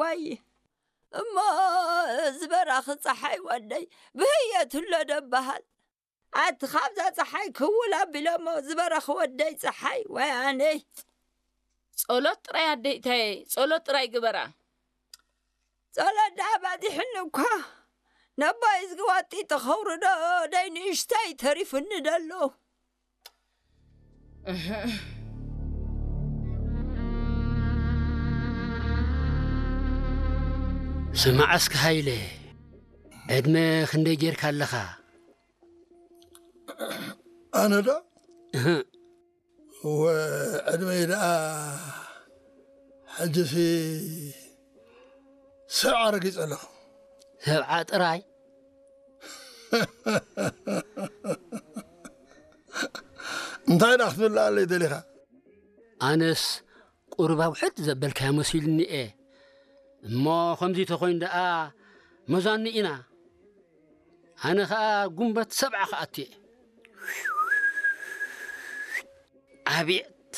ዋይ እሞ ዝበራኺ ፀሓይ ወደይ ብህየት ኣሎ ደበሃል። ኣቲ ካብዛ ፀሓይ ክውል ኣቢሎሞ ዝበራኺ ወደይ ፀሓይ ወይ ኣነይ። ጸሎት ጥራይ ኣደይታየ፣ ጸሎት ጥራይ ግበራ። ጸሎት ደኣ ባዚሕኒ እኳ ነቦይ እዝጊ ዋጢ ተኸውርዶ ደይ ንእሽተይ ተሪፉኒ ደሎ። ስማዕ እስኪ ሃይለ፣ ዕድመ ክንደይ ጌርካ ኣለኻ? ኣነ ዶ? እህ። ወ ዕድመይ ደኣ ሕጂሲ ሰብዓ ረጊጸ ኣለኹ። ሰብዓ ጥራይ? እንታይ ደኣ ክትብለኣለይ ደሊኻ? ኣነስ ቁሩብ ኣውሕድ ዘበልካዮ መሲሉኒ እየ። እሞ ከምዚ ተኾይኑ ደኣ መዛኑ ኢና። ኣነ ኸኣ ጉንበት ሰብዓ ክኣቱ እየ። ኣቤት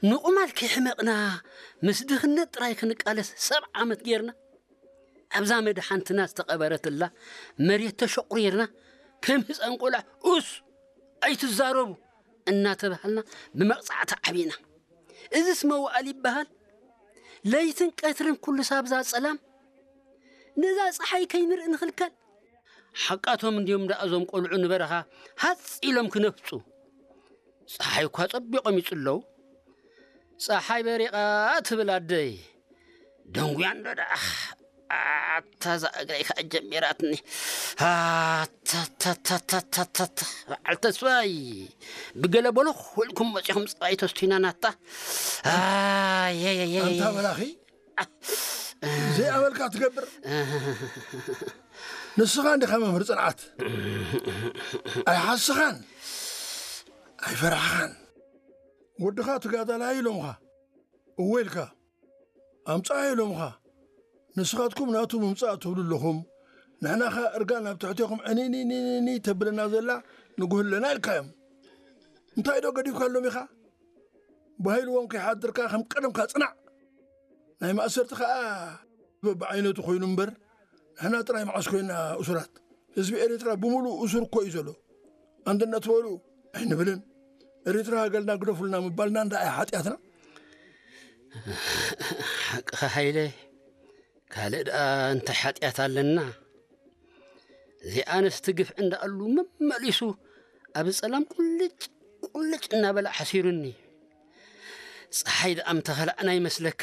ንቑማል ከይሕመቕና ምስ ድኽነት ጥራይ ክንቃለስ ሰብዓ ዓመት ጌርና። ኣብዛ መድሓንትና ዝተቐበረትላ መሬት ተሸቑሪርና ከም ህፃን ቆልዓ ኡስ ኣይትዛረቡ እናተባሃልና ብመቕፃዕቲ ዓቢና። እዝስ መዋእል ይበሃል? ለይትን ቀትርን ኩሉ ሳብዛ ጸላም ነዛ ጸሓይ ከይንርኢ ንኽልከል። ሓቃቶም እንድዮም ደኣ እዞም ቆልዑ ንበረኻ ሃጽ ኢሎም ክነፍጹ። ጸሓይ እኳ ጸቢቖም ይጽለዉ። ጸሓይ በሪቓ ትብል ኣደይ። ደንጉያ እንዶ ደኣ። ኣታ እዛ እግረይ ከኣ ጀሚራትኒ። ኣታታታታታታ በዓል ተስፋይ ብገለ በሎ ውልኩም መጺኹም ጸባይ ተስቲና ናታ። ኣየየየ ኣንታ መላኺ ዘይኣመልካ ትገብር። ንስኻ እንዲኻ መምህር ጽንዓት። ኣይሓስኻን ኣይፈራሕኻን። ወድኻ ትጋዳላይ ኢሎምኻ እወ ኢልካ ኣምጽኣ ኢሎምኻ። ንስኻትኩም ናቱ ምምጻእ ትብሉ ኣለኹም። ንሕናኻ እርጋን ናብ ትሕቴኹም ዕኒኒኒኒኒ ተብለና ዘላ ንጉህለና ኢልካዮም። እንታይ ዶ ገዲፍካሎም ኢኻ? ባሂልዎም ከይሓድርካ ከም ቀደምካ ጽናዕ። ናይ ማእሰርቲ ኸኣ በብዓይነቱ ኮይኑ እምበር ንሕና ጥራይ መዓስ ኮይና እሱራት። ህዝቢ ኤርትራ ብምሉእ እሱር እኮ እዩ ዘሎ። ኣንድነት በሉ ኣይንብልን። ኤርትራ ሃገልና ግደፉልና ምባልና እንዳ ኣይ ሓጢኣትና። ሓቅኻ ሃይለ፣ ካልእ ደኣ እንታይ ሓጢኣት ኣለና? እዚኣ ኣንስቲ ግፍዒ እንዳኣሉ መመሊሱ ኣብ ጸላም ቁልጭ ቁልጭ እናበለ ሓሲሩኒ። ጸሓይ ደኣ ምተኸላዕና ይመስለካ?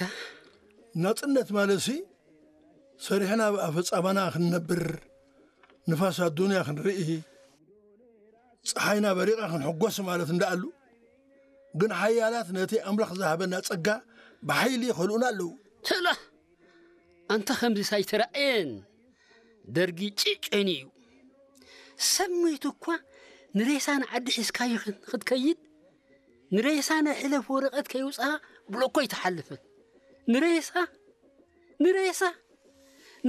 ናጽነት ማለትሲ ሰሪሕና ብኣፈጻማና ክንነብር፣ ንፋስ ኣዱንያ ክንርኢ፣ ጸሓይና በሪቓ ክንሕጎስ ማለት እንዳኣሉ፣ ግን ሓያላት ነቲ ኣምላኽ ዝሃበና ጸጋ ብሓይሊ ይኸልኡና ኣለዉ። ተላ ኣንታ ከምዚስ ኣይተራእየን። ደርጊ ጭጭን እዩ። ሰብ ሞይቱ እኳ ንሬሳ ንዓዲ ሒዝካዮ ክትከይድ ንሬሳ ናይ ሕለፍ ወረቐት ከይውፅኣ ብሎኮ ኣይትሓልፍን። ንሬሳ ንሬሳ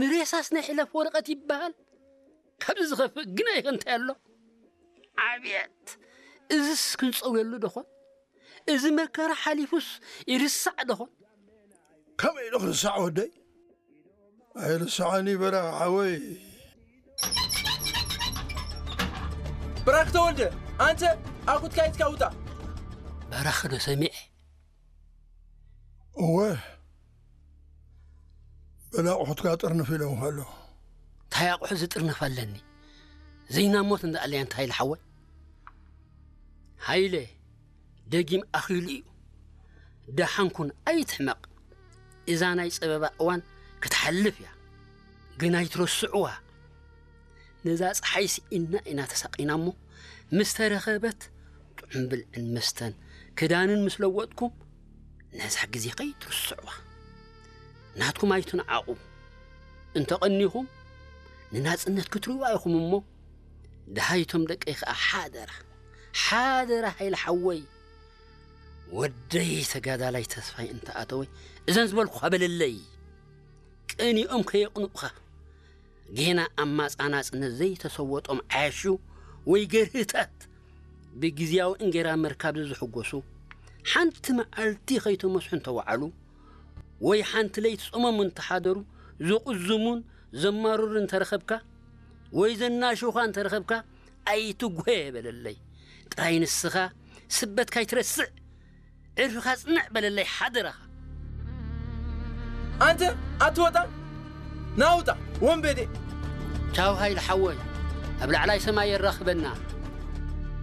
ንሬሳስ ናይ ሕለፍ ወረቐት ይበሃል። ካብዚ ዝኸፍእ ግን ኣይኸ እንታይ ኣሎ? ዓብየት እዝስ ክንፀውየሉ ደኾን? እዚ መከራ ሓሊፉስ ይርሳዕ ደኾን? ከመይ ኢሉ ክርስዕ ወደይ? ኣይርስዓኒ በራኺ ሓወይ። ብራክ ተወልደ፣ ኣንተ ኣኩትካ ኢትካ ውጣ። በራኺ ዶ ሰሚዐ? እወ፣ በላ ኣቑሑትካ ጥርንፍ ኢሎምኻ ኣለዉ። እንታይ ኣቑሑ ዝጥርንፍ ኣለኒ? ዘይናሞት እንዳኣለያ እንታይ ኢለ ሓወይ? ሃይለ፣ ደጊም ኣኺሉ እዩ። ደሓን ኩን ኣይትሕመቕ። እዛ ናይ ጸበባ እዋን ክትሓልፍ እያ። ግን ኣይትረስዕዋ። ነዛ ጸሓይ ስኢንና ኢና ተሳቒና እሞ ምስ ተረኸበት ጥዑም ብልዕን መስተን ክዳንን ምስ ለወጥኩም ነዛ ግዜ ከይትርስዕዋ። ናትኩም ኣይትንዓቑ። እንተቐኒኹም ንናጽነት ክትርእዋ ኢኹም እሞ ደሃይቶም ደቀይ ከኣ ሓደራ ሓደራ ሃይለ ሓወይ ወደይ ተጋዳላይ ተስፋይ እንተኣተወይ እዘን ዝበልኩኻ በለለይ። ቀኒኦም ከየቕንኡኻ ጌና ኣብ ማጻ ናጽነት ዘይተሰወጦም ዓያሹ ወይ ገርህታት ብግዝያዊ እንጌራ ምርካብ ዝዝሕጎሱ ሓንቲ መዓልቲ ከይተመስሑ እንተወዓሉ ወይ ሓንቲ ለይቲ ጾሞም እንተሓደሩ ዝቕዝሙን ዘማርሩ እንተረኸብካ፣ ወይ ዘናሽኻ እንተረኸብካ፣ ኣይትጉሄ በለለይ። ጥራይ ንስኻ ስበትካ ኣይትረስዕ፣ ዕርፍኻ ጽንዕ በለለይ ሓደራኻ። ኣንተ ኣትወጣ ናውጣ ወንበዴ። ቻው ሃይለ ሓወይ፣ ኣብ ላዕላይ ሰማይ የራኽበና።